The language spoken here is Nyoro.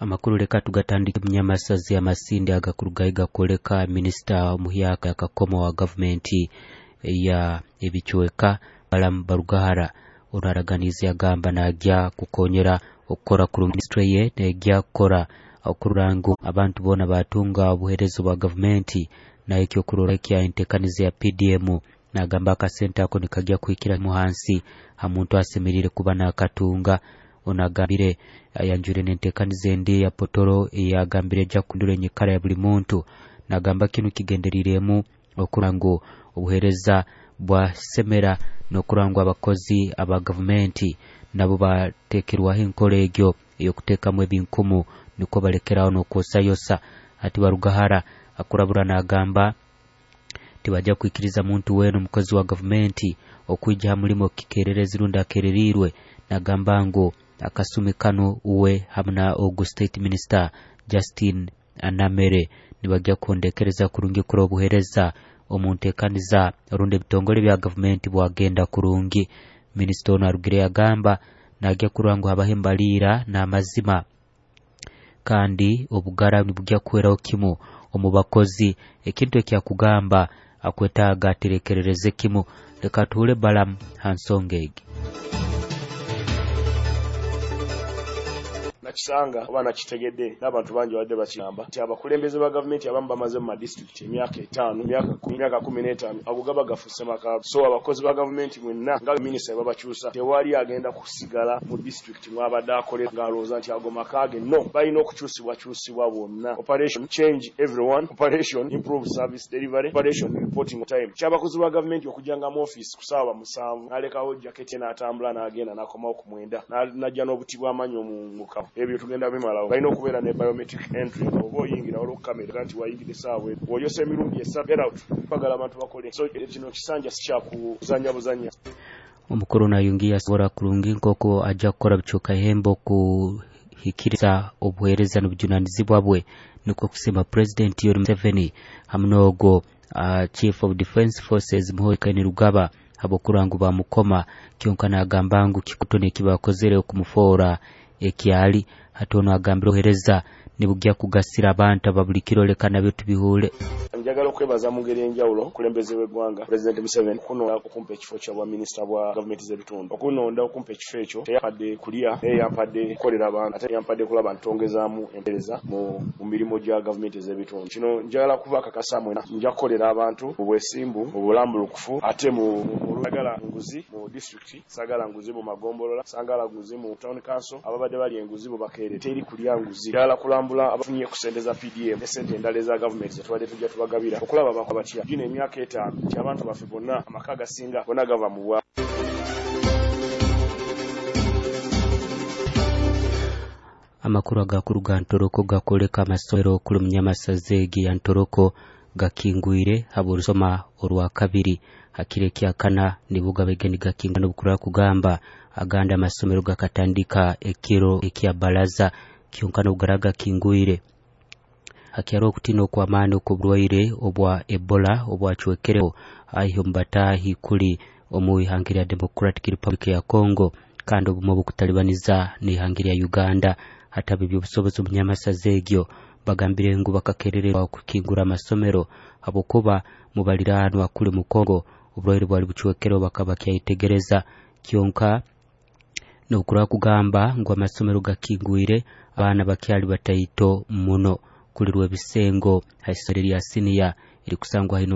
Amakuru leka tugatandike munyamasazi amasindi agakurugayo gakwoleka minisita omuhyaka akakoma wa gavumenti ya ebicweka Balaam Barugahara ono araganiize agamba najya kukonyera okukora kurungi minisitule ye nejya kukora okurora ngu abantu boona batunga obuheereza bwa gavumenti nayo ekyokurora ekya entekaniza ya PDM nagamba akasente ako nikajya kuhikira mu hansi ha muntu asemeriire kuba nakatunga. Ono agambire ayanjwire n'entekaniza endi ya potoro eyagambire ejja kuhindura enyikara ya buli muntu. Nagamba kinu kigendereiremu okurora ngu obuheereza bwasemera n'okurora ngu abakozi aba gavumenti nabo batekerwaho enkora egyo ey'okuteekamu ebinkumu nukwo balekeraho n'okwosayosa. Hati Barugahara akurabura nagamba tibajja kwikiriza muntu weena omukozi wa gavumenti okwija ha mulimo kikererezi rundi akereriirwe. Nagamba ngu akasumi kanu uwe hamu na ogu state minister Justin Anamere nibajja kuhondekereza kurungi kurora obuheereza omu ntekaniza rundi ebitongole bya gavumenti bwagenda kurungi. Minisita ono arugire yagamba najya kurora ngu habaho embaliira n'amazima kandi obugara nibujya kuhweraho kimu omu bakozi, ekintu ekyakugamba akwetaaga aterekerereze kimu. Leka tuhure Balaam ha nsonga egi. Nakisanga oba nakitegedde n'abantu bangi babadde bakigamba nti abakulembeze ba gavumenti abamu bamaze mu madisitulikiti emyaka 5, emyaka 10, emyaka 15, ago gaba gafuuse maka. So abakozi ba gavumenti mwenna nga minisita babakyusa, tewali agenda kusigala mu disitulikiti mwabadde akolera ng'alowooza nti ago maka ge. No, balina okukyusibwakyusibwa bonna. Operation change everyone, operation improve service delivery, operation reporting time. Ky'abakozi ba gavumenti okujjanga mu ofiisi ku ssaawa 7 n'alekawo jaketi n'atambula n'agenda n'akomawo ku 9 n'ajja n'obuti bw'amannyo mu mukawo. Ebyo tugenda bimalawo. Balina okubeera ne biometric entry, oba oyingira waliwo kamera nti wayingidde essaawa eno, bw'oyosa emirundi 3 get out. Twagala abantu bakole. So kino kisanja si kyakuzannya buzannya. Omukuru nayongiye asobora kurungi nk'oku ajja kukora bicuuka ihembo kuhikiriza obuheereza n'obujunanizibwa bwe, nukwo kusima President Yoweri Museveni hamu n'ogwo Chief of Defense Forces Muhoozi Kainerugaba habw'okurora ngu bamukoma. Kyonka nagamba ngu kikuto nekibakozere okumufoora ekyali. Hati ono agambire obuheereza nibujya kugasira abantu aba buli kiro. Leka nabyo tubihuule. Njagala okwebaza mu ngeri enjawulo omukulembeze w'eggwanga President Museveni okunonda okumpa ekifo kya bwa minisita bwa gavumenti z'ebitundu. Okunonda okumpa ekifo ekyo teyampadde kulya, naye yampadde kukolera abantu, ate yampadde kulaba ntongezaamu empeereza mu mirimu gya gavumenti ez'ebitundu. Kino njagala kubakakasa mwenna nja kukolera abantu mu bwesimbu, mu bulambulukufu, ate mu sagala nguzi mu disitulikiti, sagala nguzi mu magombolola, sagala nguzi mu town council. Ababadde bali enguzi bo bakeere, teri kulya nguzi. Njagala kulambula abafunye ku ssente za PDM ne ssente endala eza gavumenti zetubadde tujja tubagabira okulaba bakola batya. Gino emyaka 5 nti abantu baffe bonna amaka agasinga bonna gava mu bwa. Amakuru agakuruga Ntoroko gakoleka amasomero kuli munyamasazi egi ya Ntoroko gakingwire habw'orusoma orwa kabiri hakiro ekyakana nibuga begeni gakinga n'obukura kugamba agandi amasomero gakatandika ekiro ekya baraza kyonka n'obugara gakingwire. Hakyariho okutiina okw'amaani okw'oburwaire obwa Ebola obwacwekereho aihi omu bataahi kuli omu ihanga lya Democratic Republic ya Congo kandi obumwe obukutalibaniza n'ihanga lya Uganda. Hatabe eby'obusobozi omunyamasazi egyo bagambire ngu bakakerererwa okukingura amasomero habwokuba mubaliraanwa kuli mu Congo oburwaire bwali bucwekereho bakaba bakyayetegereza. Kyonka n'okura kugamba ngu amasomero gakingwire abaana bakyali bataito muno kulirwa ebisengo ha isomero lya siniya erikusangwa hino.